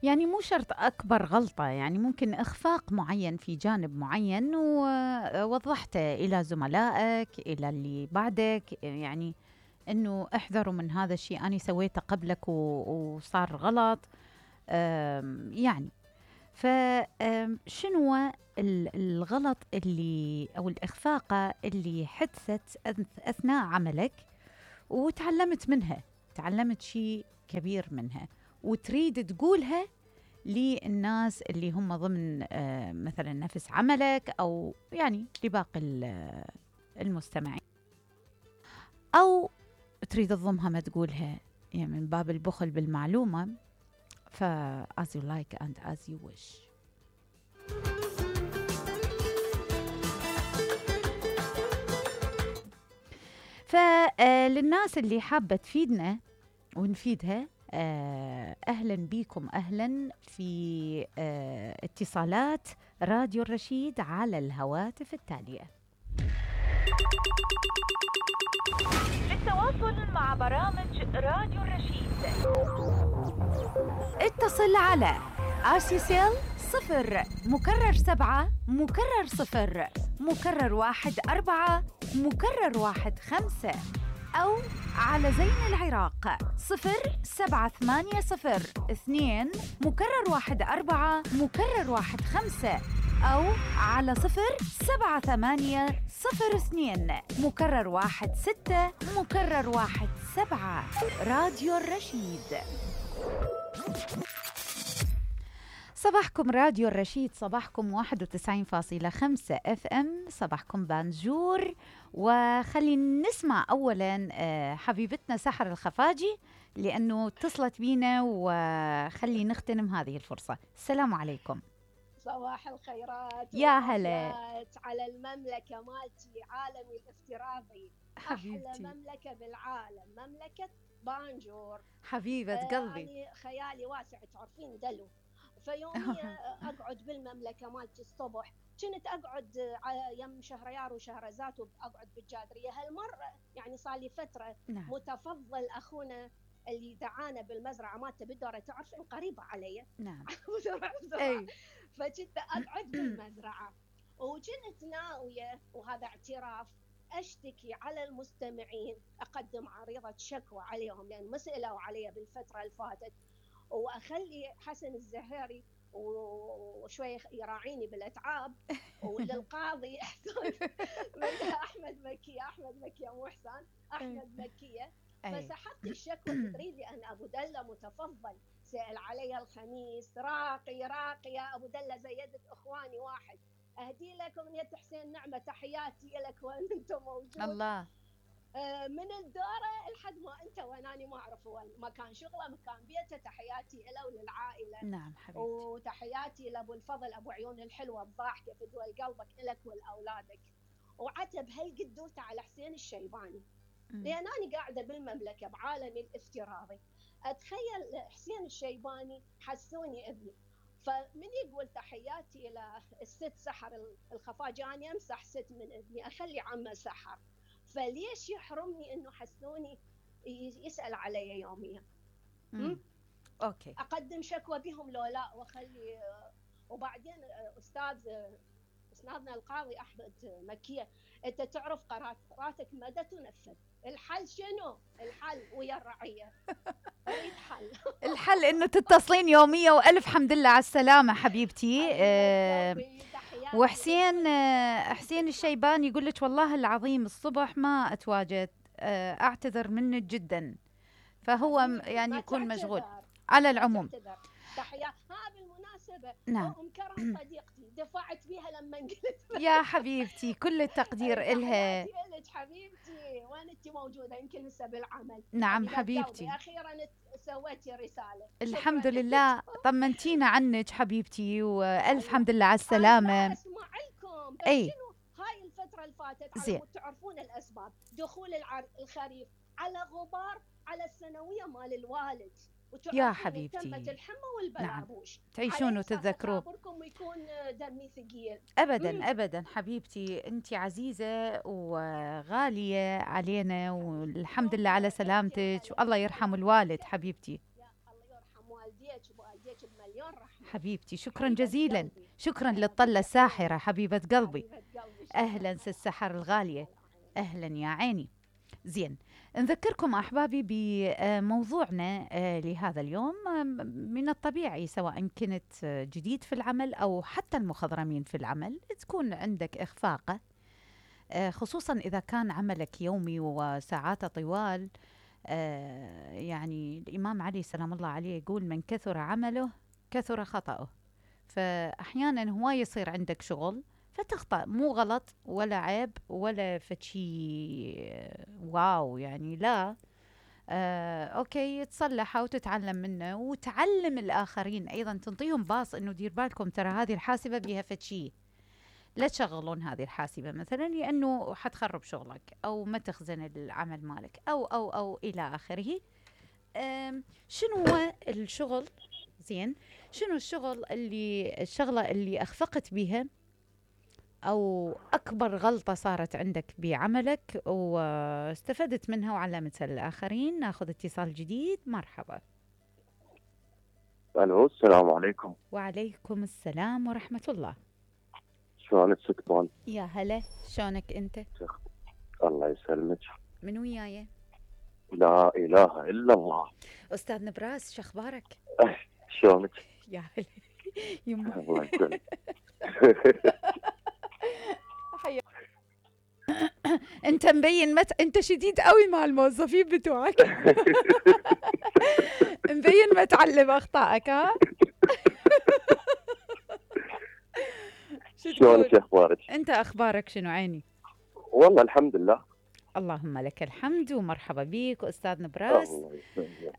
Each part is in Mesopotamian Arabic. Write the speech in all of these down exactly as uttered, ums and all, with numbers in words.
يعني مو شرط أكبر غلطة، يعني ممكن إخفاق معين في جانب معين ووضحته إلى زملائك، إلى اللي بعدك، يعني إنه احذروا من هذا الشيء، أنا سويته قبلك وصار غلط. يعني فشنو الغلط اللي أو الإخفاقة اللي حدثت أثناء عملك وتعلمت منها، تعلمت شيء كبير منها وتريد تقولها للناس اللي هم ضمن مثلا نفس عملك أو يعني لباقي المستمعين، أو تريد تضمها ما تقولها، يعني من باب البخل بالمعلومة. ف as you like and as you wish. فللناس اللي حابة تفيدنا ونفيدها، أهلا بكم، أهلا في اتصالات راديو الرشيد على الهواتف التالية. للتواصل مع برامج راديو الرشيد اتصل على آسيسيل صفر مكرر سبعة مكرر صفر مكرر واحد أربعة مكرر واحد خمسة، أو على زين العراق صفر سبعة ثمانية صفر اثنين مكرر واحد أربعة مكرر واحد خمسة، أو على صفر سبعة ثمانية صفر اثنين مكرر واحد ستة مكرر واحد سبعة. راديو الرشيد. صباحكم راديو الرشيد، صباحكم واحد وتسعين فاصلة خمسة اف ام، صباحكم بانجور. وخلينا نسمع اولا حبيبتنا سحر الخفاجي لانه اتصلت بينا، وخلي نغتنم هذه الفرصة. السلام عليكم. صباح الخيرات يا هلا على المملكة مالتي، عالمي الافتراضي، حبيبتي. أحلى مملكة بالعالم، مملكة بانجور حبيبة آه قلبي. يعني خيالي واسع، تعرفين دلو. فيوميا أقعد بالمملكة مالتي الصبح، كنت أقعد يم شهريار وشهرزاد وأقعد بالجادرية. هالمرة يعني صار لي فترة نعم. متفضل أخونا اللي دعانا بالمزرعة مالته بالدورة، تعرفين قريبة علي. نعم. أي. فكنت أقعد بالمزرعة وكنت ناوية، وهذا اعتراف، أشتكي على المستمعين، أقدم عريضة شكوى عليهم لأن ما سألوا علي بالفترة اللي فاتت، وأخلي حسن الزهيري وشوي يراعيني بالأتعاب، وللقاضي أحمد مكية أحمد مكية مو حسان أحمد مكية. فسحبت الشكوى. تدري لي أن أبو دلة متفضل سأل علي الخميس، راقي راقي يا أبو دلة زيدت إخواني واحد، أهدي لكم من يد حسين نعمة، تحياتي لك وين أنت موجود. الله. آه من الدورة لحد ما أنت ويناني ما أعرف وين، مكان شغله مكان بيته، تحياتي له وللعائلة. نعم حبيبتي. وتحياتي لأبو الفضل أبو عيون الحلوة الضاحكة في دول قلبك إلك ولأولادك. وعتب هالقدوته على حسين الشيباني، لأن أنا قاعدة بالمملكة بعالمي الافتراضي، أتخيل حسين الشيباني حسوني ابني. فمن يقول تحياتي إلى الست سحر الخفاجي، أنا أمسح ست من ابني، أخلي عمه سحر، فليش يحرمني إنه حسوني يسأل علي يوميا؟ أوكي. أقدم شكوى بهم لو لا، وأخلي. وبعدين أستاذ أستاذنا القاضي أحمد مكية، أنت تعرف قراراتك مدى تنفذ، الحل شنو؟ الحل ويا الرعية. أريد حل. الحل إنه تتصلين يوميا، وألف حمد لله على السلامة حبيبتي. أه وحسين أه حسين الشيباني يقول لك والله العظيم الصبح ما أتواجد، أه أعتذر منك جدا، فهو يعني يكون مشغول. على العموم تحية. ها بالمناسبة نعم. أم كرم صديقتي دفعت بيها لما قلت يا حبيبتي كل التقدير إلها. تحياتي لك حبيبتي، وين أنت موجودة؟ يمكن هسه بالعمل. نعم حبيبتي. أخيرا سويتي رسالة. الحمد لله، طمنتينا عنك حبيبتي، وألف حمد لله على السلامة. أنا أسمع لكم، بس أي. شنو هاي الفترة اللي فاتت زين. تعرفون الأسباب، دخول الخريف على غبار على السنوية مال الوالد، يا حبيبتي تمت الحمى والبلابوش. نعم. تعيشون وتتذكروا. يكون دمي ثقيل أبدا مم. أبدا حبيبتي، أنت عزيزة وغالية علينا، والحمد لله على سلامتك، والله يرحم الوالد حبيبتي. يا الله يرحم والديك بوالديك بمليون رحمه. حبيبتي شكرا جزيلا، شكرا للطله الساحره حبيبه قلبي. حبيبه قلبي. اهلا سسحر الغاليه، اهلا يا عيني. زين، نذكركم أحبابي بموضوعنا لهذا اليوم. من الطبيعي سواء كنت جديد في العمل أو حتى المخضرمين في العمل تكون عندك إخفاقة، خصوصا إذا كان عملك يومي وساعاته طوال. يعني الإمام علي سلام الله عليه يقول من كثر عمله كثر خطأه. فأحيانا هو يصير عندك شغل فتخطأ، مو غلط ولا عيب ولا فشي واو يعني، لا. آه، أوكي، تصلحها وتتعلم منه وتعلم الآخرين أيضا، تنطيهم باص إنه دير بالكم ترى هذه الحاسبة بيها فشي، لا تشغلون هذه الحاسبة مثلا لأنه حتخرب شغلك أو ما تخزن العمل مالك أو أو أو إلى آخره. شنو هو الشغل؟ زين، شنو الشغل اللي الشغلة اللي أخفقت بيها أو أكبر غلطة صارت عندك بعملك واستفدت منها وعلمتها للآخرين؟ ناخذ اتصال جديد. مرحبا. ألو، السلام عليكم. وعليكم السلام ورحمة الله. شلونك ست؟ يا هلا، شلونك أنت؟ الله يسلمك. من وياي؟ لا إله إلا الله. أستاذ نبراس، شو أخبارك؟ شلونك؟ يا هلا يما. الله يسلمك. انت مبين مت... انت شديد قوي مع الموظفين بتوعك. مبين ما تعلم اخطائك. ها شلونك اخبارك؟ انت اخبارك شنو عيني؟ والله الحمد لله. اللهم لك الحمد ومرحبا بيك استاذ نبراس.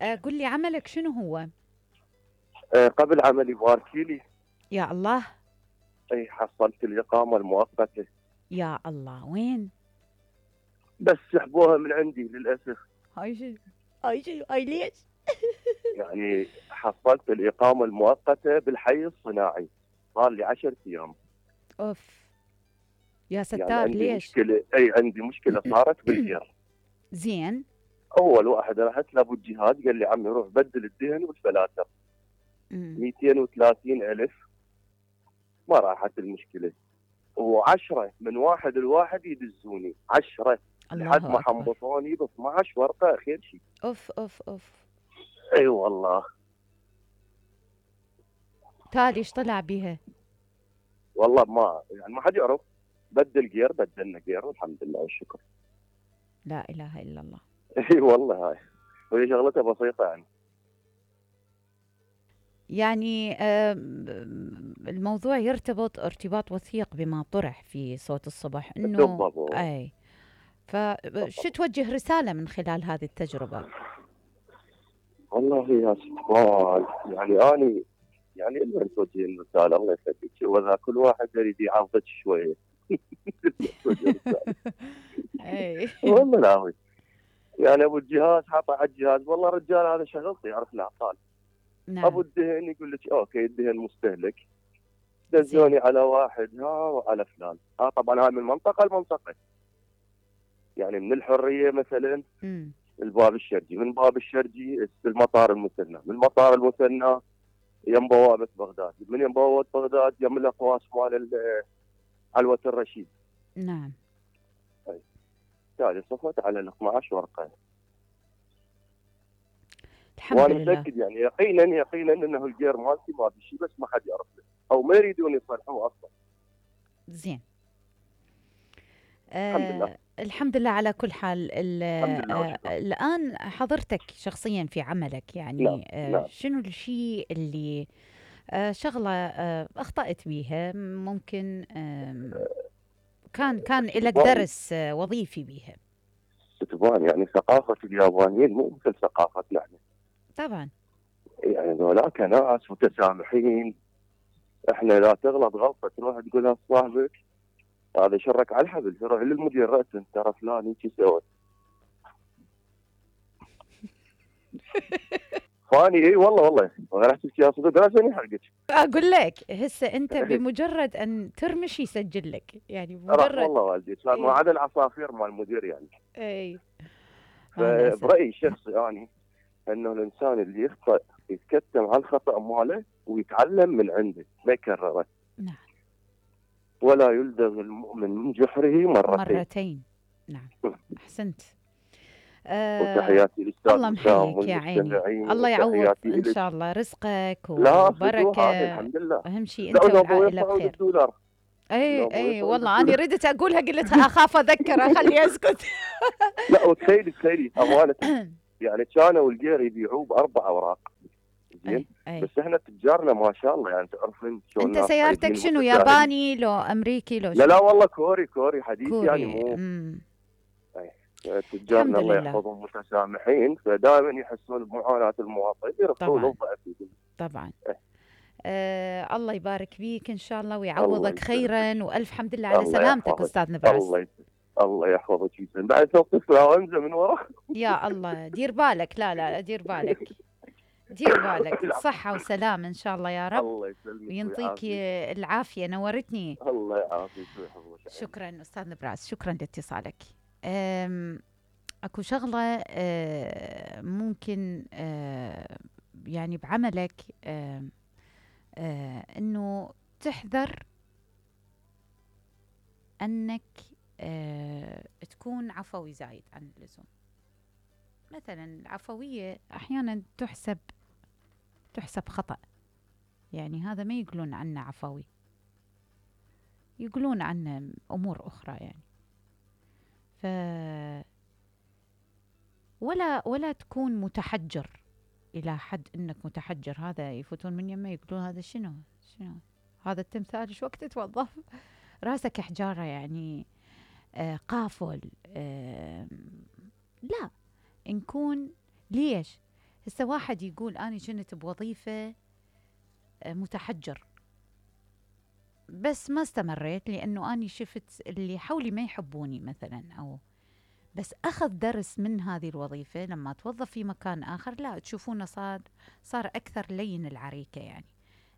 آه قل لي عملك شنو هو؟ آه قبل عملي باركيلي. يا الله. اي حصلت الاقامه المؤقته. يا الله، وين؟ بس سحبوها من عندي للاسف. هاي شو هاي شو هاي ليش؟ يعني حصلت الاقامه المؤقته بالحي الصناعي، صار لي عشرة ايام. اوف يا ستار. يعني عندي ليش؟ مشكله، اي عندي مشكله صارت بالجير. زين. اول واحد رحت لابو الجهاز قال لي عمي روح بدل الدهن والفلاتر. مئتين وثلاثين ألف. ما راحت المشكله، وعشرة من واحد لواحد يدزوني عشرة لحد ما حنبطوني ب اثني عشر ورقه خير شيء. اوف اوف اوف. اي أيوة والله. تالي ايش طلع بيها؟ والله ما يعني ما حد يعرف. بدل جير، بدلنا جير والحمد لله والشكر. لا اله الا الله. اي والله هاي وهي شغلتها بسيطه يعني. يعني الموضوع يرتبط ارتباط وثيق بما طرح في صوت الصبح انه اي. فشو توجه رساله من خلال هذه التجربه؟ والله يا ست يعني اني يعني لما توجه الرساله الله يخليك، واذا كل واحد يريد يعرضك شويه. اي والله لا يعني ابو الجهاز حاطه على الجهاز، والله رجال هذا شغلتي يعرف العطال. نعم. ابو الدهن يقول لك اوكي الدهن مستهلك، دزوني على واحد ها وعلى فلان. ها طبعا هاي من منطقه لمنطقه، يعني من الحريه مثلا م. الباب الشرجي، من باب الشرجي المطار المثنى، من المطار المثنى يم بوابه بغداد، من يم بوابه بغداد يم الاقواس مال علوه الرشيد. نعم. بالتالي صفت على ال اثني عشر ورقه. الحمد وانا لله. متاكد يعني يقينا يقينا انه الجير مالتي ما في شيء، بس ما حد يعرف له او ما يريدون يصلحوه اصلا. زين. الحمد آه لله. الحمد لله على كل حال. الحمد لله آه الآن حضرتك شخصيا في عملك يعني نعم. آه نعم. شنو الشيء اللي آه شغلة آه أخطأت بيها، ممكن آه كان كان لك درس آه وظيفي بيها؟ تبان يعني ثقافة اليابانيين مو مثل ثقافتنا احنا. طبعا. يعني ذولاك ناس متسامحين. احنا لا تغلط غلطة تروح تقولها لصاحبك هذا شرك على الحبل، تروح للمدير رأسا ترى فلان هيك سوى. فاني اي والله والله راح تحكي يا صدق راسني حرقك. اقول لك هسه انت بمجرد ان ترمش يسجل لك، يعني مجرد والله والدي صار ما عدا العصافير مال المدير يعني. اي. فبرايي الشخصي يعني انه الانسان اللي يخطئ يتكتم على الخطا ماله ويتعلم من عنده ما يكرره. نعم. ولا يلدغ المؤمن من جحره مرتين. مرتين. نعم. احسنت. آه وتحياتي للاستاذ الله وسام محييك يا عيني. والمستمعين الله يعوض وتحياتي ان إلك. شاء الله رزقك لا وبركه. الحمد لله. اهم شيء لا انت أنا أبوي والعائله يطلعوا بخير. بالدولار. اي لا، اي أبوي والله يطلعوا انا ردت اقولها قلت اخاف اذكره خليه يسكت. لا وتخيلي تخيلي امانه يعني كانوا والقير يبيعوه باربع اوراق. زين. أي أي. بس احنا تجارنا ما شاء الله يعني تعرفين شلون انت الناس سيارتك طيبين شنو ومتفاهمين. ياباني لو امريكي لو لا شنو؟ لا والله كوري كوري حديث كوري. يعني مو امم تجارنا الحمد الله لله. يحفظهم متسامحين فدائما يحسون بمعاناه المواطن يرفعون طبعاً. الضعف. طبعا. إيه. آه الله يبارك فيك ان شاء الله الله ويعوضك يسلمك. خيرا والف حمد لله على الله سلامتك يحفظك. استاذ نبراس. الله يسلمك. الله يحفظك يسلم بعد توقف وانزل من ورا. يا الله دير بالك. لا لا لا دير بالك. دير بالك. صحة وسلامة ان شاء الله يا رب. الله يسلمك وينطيك ويعافيك. العافية. نورتني. الله يعافيك ويحفظك. شكرا استاذ نبراس. شكرا لاتصالك. أم، اكو شغلة أه، ممكن أه، يعني بعملك أه، أه، انه تحذر انك أه، تكون عفوي زايد عن اللزوم. مثلا العفوية احيانا تحسب تحسب خطأ. يعني هذا ما يقولون عنه عفوي، يقولون عنه امور اخرى يعني. ف ولا ولا تكون متحجر الى حد انك متحجر. هذا يفوتون من يمه يقولون هذا شنو شنو هذا التمثال ايش وقت توظف راسك حجاره يعني. آه قافل. آه لا نكون. ليش هسه واحد يقول اني كنت بوظيفه آه متحجر بس ما استمريت لانه اني شفت اللي حولي ما يحبوني مثلا، او بس أخذ درس من هذه الوظيفة لما توظف في مكان آخر لا تشوفونه صار صار أكثر لين العريكة يعني.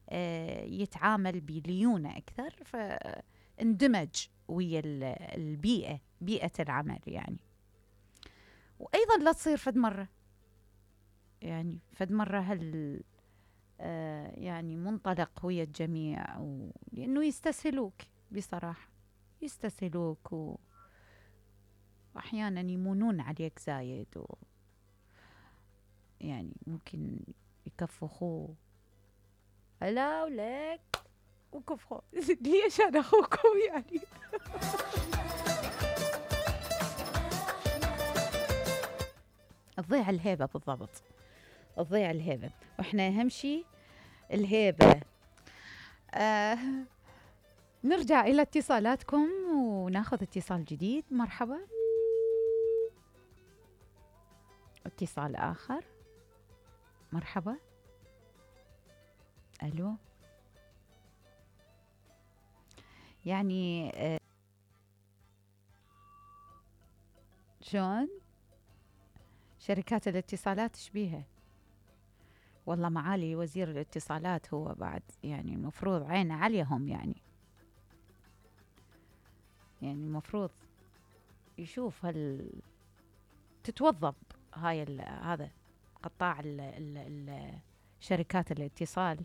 آه يتعامل بليونة أكثر فاندمج ويا البيئة بيئة العمل يعني. وأيضا لا تصير فد مرة يعني فد مرة هل آه يعني منطلق ويا الجميع لأنه يستسهلوك بصراحة يستسهلوك و أحيانا يمونون عليك زايد و يعني ممكن يكفخوه هلا ولك وكفخوا ليش أنا أخوكم يعني. تضيع الهيبة بالضبط. تضيع الهيبة وإحنا أهم شيء الهيبة. آه نرجع إلى اتصالاتكم وناخذ اتصال جديد. مرحبا. اتصال آخر. مرحبا. ألو. يعني آه شلون شركات الاتصالات شبيها والله معالي وزير الاتصالات هو بعد يعني المفروض عينه عليهم يعني يعني المفروض يشوف هل تتوظف هاي ال هذا قطاع ال ال ال شركات الاتصال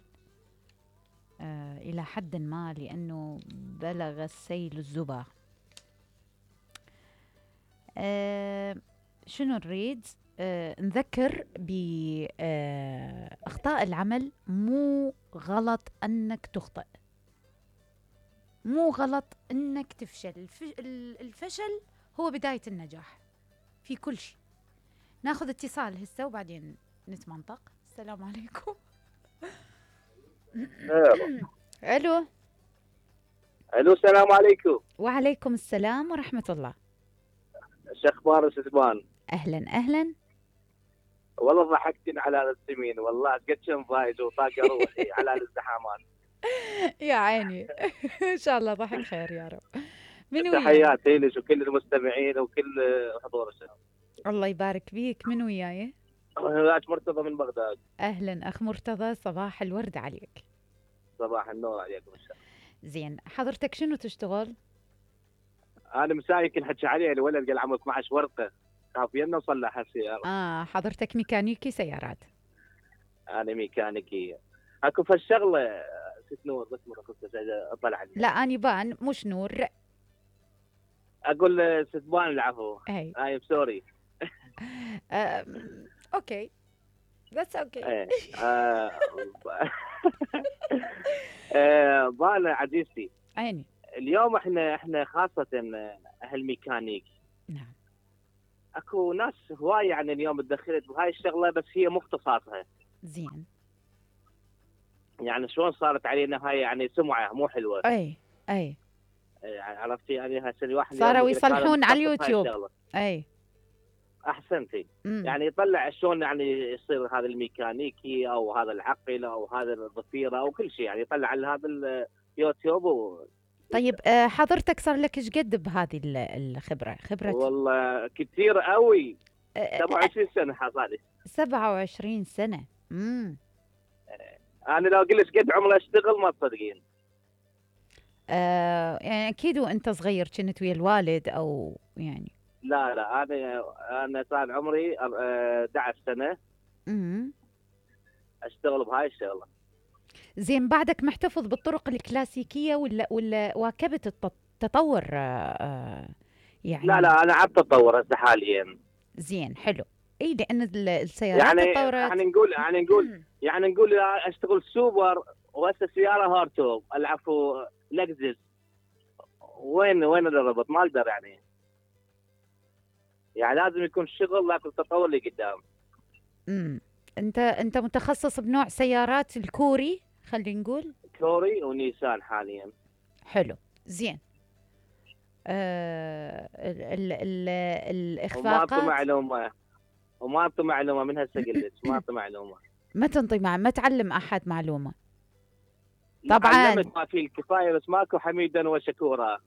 آه إلى حد ما لأنه بلغ السيل الزبا. آه شنو نريد آه نذكر بأخطاء العمل. مو غلط أنك تخطئ، مو غلط أنك تفشل. الفشل هو بداية النجاح في كل شيء. ناخذ اتصال هسه وبعدين نتمنطق. السلام عليكم. الو. الو السلام عليكم. وعليكم السلام ورحمة الله. شو اخبار استاذ؟ اهلا اهلا. والله ضحكتني على السمين والله قد كم فايز وطاقه روحي على الازدحامات. يا عيني. ان شاء الله ضحك خير يا رب. من وياك؟ تحياتي لك وكل المستمعين وكل حضور الشباب. الله يبارك بيك. من وياي؟ اخ مرتضى من بغداد. اهلا اخ مرتضى. صباح الورد عليك. صباح النور عليكم ان شاء الله. زين حضرتك شنو تشتغل؟ انا مساي كل حكي عليه الولد قال عمره اثنعش ورقه. كافينا نصلح السياره. اه حضرتك ميكانيكي سيارات. انا ميكانيكي. اكو فالشغله ست نور بس مره كنت اطلع عليها. لا اني بان مش نور. اقول ست بان العفو. اي اي سوري. اوكي بس اوكي. ايه آه، آه، بانا عزيزتي عيني. اليوم احنا احنا خاصه اهل ميكانيك. نعم. اكو ناس هواي يعني اليوم تدخلت بهاي الشغله بس هي مو اختصاصها. زين. يعني شلون صارت علينا هاي يعني سمعه مو حلوه. اي اي يعني عرفتي يعني هسه الواحد صاروا يصلحون على اليوتيوب. اي احسنتي. مم. يعني يطلع شلون يعني يصير هذا الميكانيكي او هذا العقل او هذا الضفيره او كل شيء، يعني يطلع على هذا اليوتيوب و... طيب آه، حضرتك صار لك ايش قد بهذه ال- الخبره؟ خبره والله كثير قوي. آه، سبعة وعشرين سنه حصلي. سبعة وعشرين سنه. امم انا لو قلت قد عمري اشتغل ما تصدقين. آه يعني اكيد وانت صغير كنت ويا الوالد او يعني. لا لا انا انا صار عمري أر- أحد عشر سنه امم اشتغل بهاي الشغله. زين بعدك محتفظ بالطرق الكلاسيكية ولا ولا واكبت الت- التطور آه، آه، يعني؟ لا لا انا عم تطور هسه حاليا. زين حلو. اي لان ال- السيارات يعني تطورت. يعني نقول يعني نقول يعني نقول اشتغل سوبر وهسه سياره هارتوب العفو لكزس. وين وين الربط؟ ما اقدر يعني. يعني لازم يكون شغل لكن تطور اللي قدام. امم انت انت متخصص بنوع سيارات الكوري خلينا نقول. كوري ونيسان حاليا. حلو زين. آه ال ال ال وما انطي الاخفاقات معلومه وما انطي معلومه من هسه قلت ما انطي معلومه. ما تنطي مع ما تعلم احد معلومة. طبعاً. علمت ما فيه الكفايه بس ماكو حميدا وشكورا.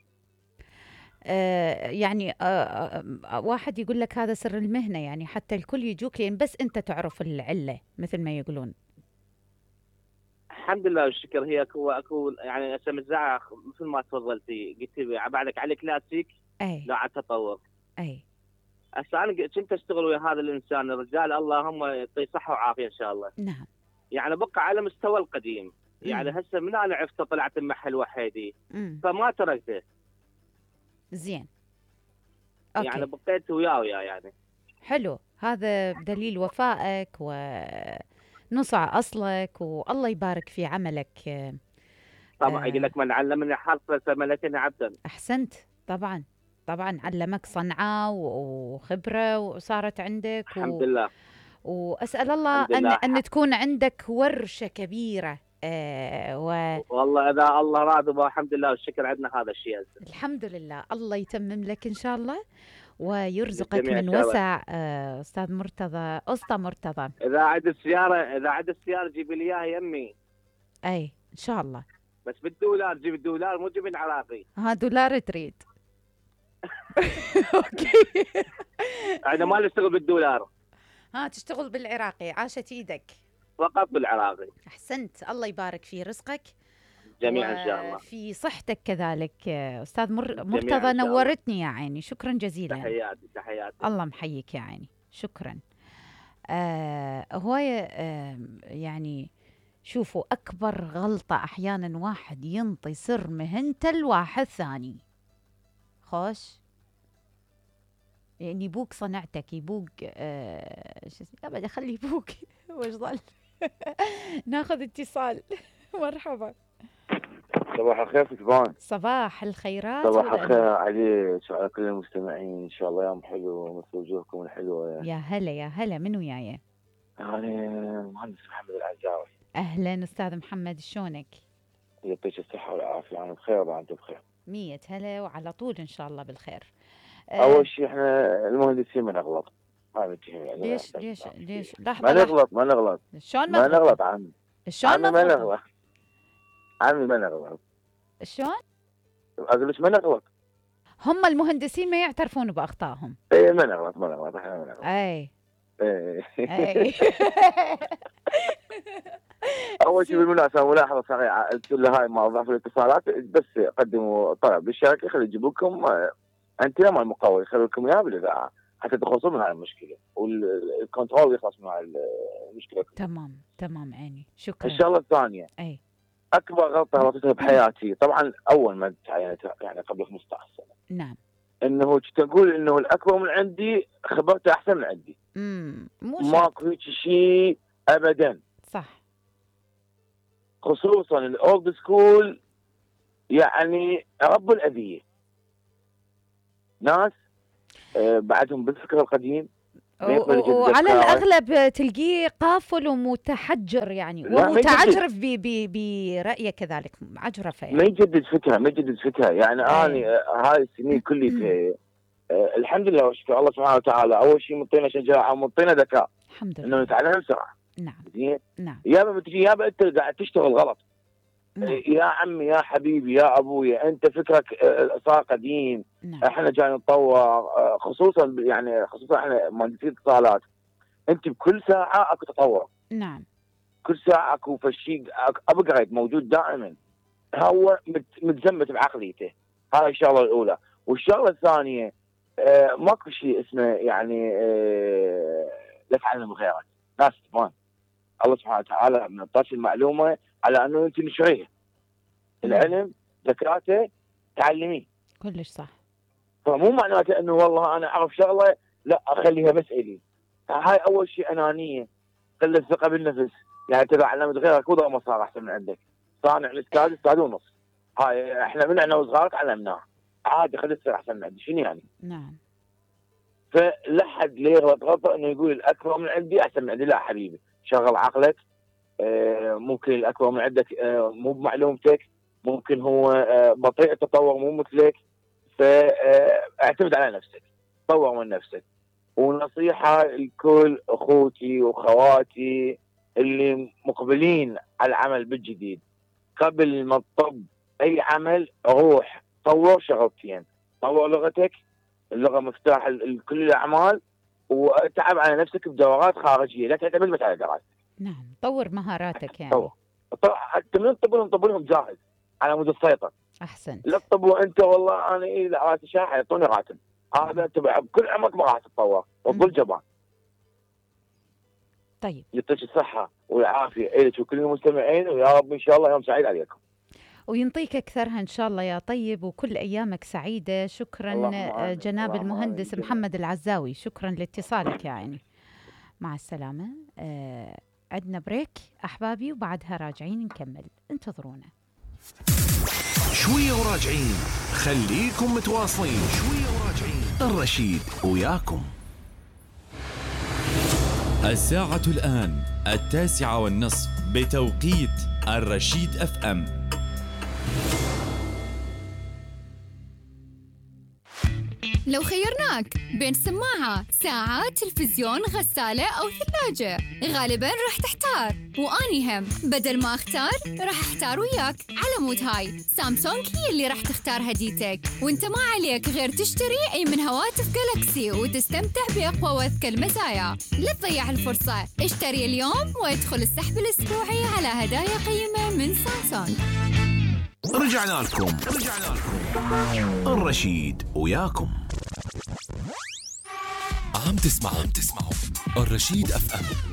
آه يعني آه آه واحد يقول لك هذا سر المهنة، يعني حتى الكل يجوك لين بس أنت تعرف العلة مثل ما يقولون. الحمد لله والشكر. هي اكو اكو يعني هسه متزعق مثل ما تفضلتي قلتي بعدك على كلاسيك. أي لا على تطور. أي هسه انا كنت اشتغل ويا هذا الانسان الرجال اللهم يعطيه صحه وعافيه ان شاء الله. نعم. يعني بقى على مستوى القديم. يعني مم. هسه من انا عرفته طلعت محل وحيدي مم. فما تركته. زين أوكي. يعني بقيت وياه وياه يعني. حلو، هذا دليل وفائك ونصع أصلك والله يبارك في عملك. آه، طبعا آه. يقول لك من علمني حرفا فملكني عبدا. أحسنت. طبعا طبعا علمك صنعة و- وخبرة وصارت عندك و... الحمد لله. وأسأل الله الحمد أن لله. أن تكون عندك ورشة كبيرة. آه و... والله اذا الله راضي والحمد لله والشكر عندنا هذا الشيء هسه. الحمد لله الله يتمم لك إن شاء الله ويرزقك للجميع من إن شاء الله. وسع. آه أستاذ مرتضى أسطى مرتضى. اذا عندك سياره اذا عندك سياره جيبي لي اياها يمي. أي إن شاء الله. بس بالدولار جيب الدولار مو جيب العراقي. ها دولار تريد. أوكي. احنا ما نشتغل بالدولار ها تشتغل بالعراقي. عاشت إيدك. فقط بالعراقي. أحسنت الله يبارك في رزقك جميعا ان شاء الله. في صحتك كذلك. آه، أستاذ مر... جميعاً مرتضى إن شاء الله. نورتني يا عيني. شكرا جزيلا. تحياتي تحياتي. الله محييك يا عيني. شكرا. آه هواية آه يعني شوفوا أكبر غلطة أحيانا واحد ينطي سر مهنته لواحد ثاني. خوش يعني يبوك صنعتك يبوك آه شو اسمه أبدا خلي يبوك. وش ظل. ناخذ اتصال. مرحبا. صباح الخير فتبان. صباح الخيرات. صباح والأنوار. الخير عليك وعلى كل المستمعين، ان شاء الله يوم حلو مثل وجوهكم الحلوه. يا هلا يا هلا من وياي؟ انا المهندس محمد العزاوي. اهلا استاذ محمد شلونك؟ يعطيك الصحه والعافيه. انا بخير وانت بخير. مية هلا وعلى طول ان شاء الله بالخير. اول شيء احنا المهندسين ما نغلط. ما نتهم يعني. ليش ليش ليش ما لحظة لحظة. نغلط ما نغلط شلون ما ما نغلط عمي. شلون عمي ما ما نغلط. عمي ما نغلط. شلون؟ اقول لك ما نغلط. هم المهندسين ما يعترفون باخطائهم. اي ما نغلط ما نغلط احنا ما نغلط. اي اي اي. اول شيء بالمناسبه ملاحظه صغيره قلت له هاي موظف الاتصالات بس قدموا طلب للشركه خلي يجيبوا لكم انتنا مال المقاول يخلوا لكم اياها بالاذاعه. حتى تخلصون من هاي المشكله والكنترول يخلص من هاي المشكله. تمام تمام عيني، شكرا. الشغله الثانيه، اي اكبر غلطه غلطتها بحياتي طبعا اول ما تعينت يعني قبل خمسة عشر سنه، نعم، انه تقول انه الاكبر من عندي خبرته احسن من عندي. امم ماكو هيك شيء ابدا، صح. خصوصا الاولد سكول، يعني رب الاذيه ناس آه بعدهم بالفكر القديم، وعلى الاغلب تلقيه قافل ومتحجر يعني، ومتعجرف برايه كذلك، عجرفه يعني. ما يجدد فكره ما يجدد فكره يعني. انا هاي السنين كلها آه الحمد لله وشكر الله سبحانه وتعالى، اول شيء مطينا شجاعه ومطينا ذكاء، الحمد لله، انه نتعلم بسرعه. نعم زين. نعم. يابا بتجي يابا انت قاعد تشتغل غلط. نعم. يا عمي يا حبيبي يا ابويا، انت فكرك صار قديم. نعم. احنا جاي نتطور، خصوصا يعني خصوصا احنا مهندسين اتصالات، انت بكل ساعه اكو تطور. نعم. كل ساعه اكو فشي ابجريد موجود دائما، هو متزمت بعقليته. هاي الشغله الاولى. والشغله الثانيه آه ماكو شيء اسمه يعني آه لا تعلم غيرك، ناس تبان الله سبحانه وتعالى من طاش المعلومه على انه انت نشريه. العلم ذكاته تعلميه. كلش صح. فمو معناته انه والله انا اعرف شغله لا اخليها بس الي. هاي اول شيء انانيه، قله ثقه بالنفس. يعني ترى علمت غيرك وضع ما صار احسن من عندك. صانع الاستاذ استاذ ونص. هاي احنا من احنا وصغار تعلمناه، عادي خلي تصير احسن من عندي، شنو يعني؟ نعم. فلا حد ليه يغلط غلطه انه يقول الاكبر من عندي احسن من عندي. لا حبيبي، شغل عقلك. آه ممكن الاكبر من عندك آه مو بمعلومتك، ممكن هو آه بطيء التطور مو مثلك، فاعتمد على نفسك، طور من نفسك. ونصيحه لكل اخوتي واخواتي اللي مقبلين على العمل بالجديد، قبل ما تطب اي عمل روح طور شغلتين، طور لغتك، اللغه مفتاح لكل الاعمال، وتعب على نفسك بدورات خارجيه، لا تعتمد بس على دراستك. نعم، طور مهاراتك يعني. طور حتى من تطب لهم طب لهم جاهز على مود السيطره. احسنت. لا تطب وانت والله انا اذا راتب شاحن يعطوني راتب، هذا انت بكل عمرك ما راح تتطور وتظل جبان. طيب، يعطيك الصحه والعافيه الك وكل المستمعين، ويا رب ان شاء الله يوم سعيد عليكم وينطيك أكثرها إن شاء الله يا طيب، وكل أيامك سعيدة. شكرا جناب المهندس محمد العزاوي، شكرا لاتصالك يا عيني. مع السلامة. آه عندنا بريك أحبابي، وبعدها راجعين نكمل، انتظرونا. شوية وراجعين، خليكم متواصلين. شوية وراجعين، الرشيد وياكم. الساعة الآن التاسعة والنصف بتوقيت الرشيد اف ام. لو خيرناك بين سماعة، ساعة، تلفزيون، غسالة أو ثلاجة، غالباً راح تحتار، وأني هم بدل ما أختار راح أحتار وياك. على مود هاي سامسونج هي اللي راح تختار هديتك، وانت ما عليك غير تشتري أي من هواتف جالكسي وتستمتع بأقوى وأذكى المزايا. لا تضيع الفرصة، اشتري اليوم وادخل السحب الأسبوعي على هدايا قيمة من سامسونج. رجعنا لكم رجعنا لكم الرشيد وياكم. عم تسمعوا عم تسمعوا الرشيد اف ام.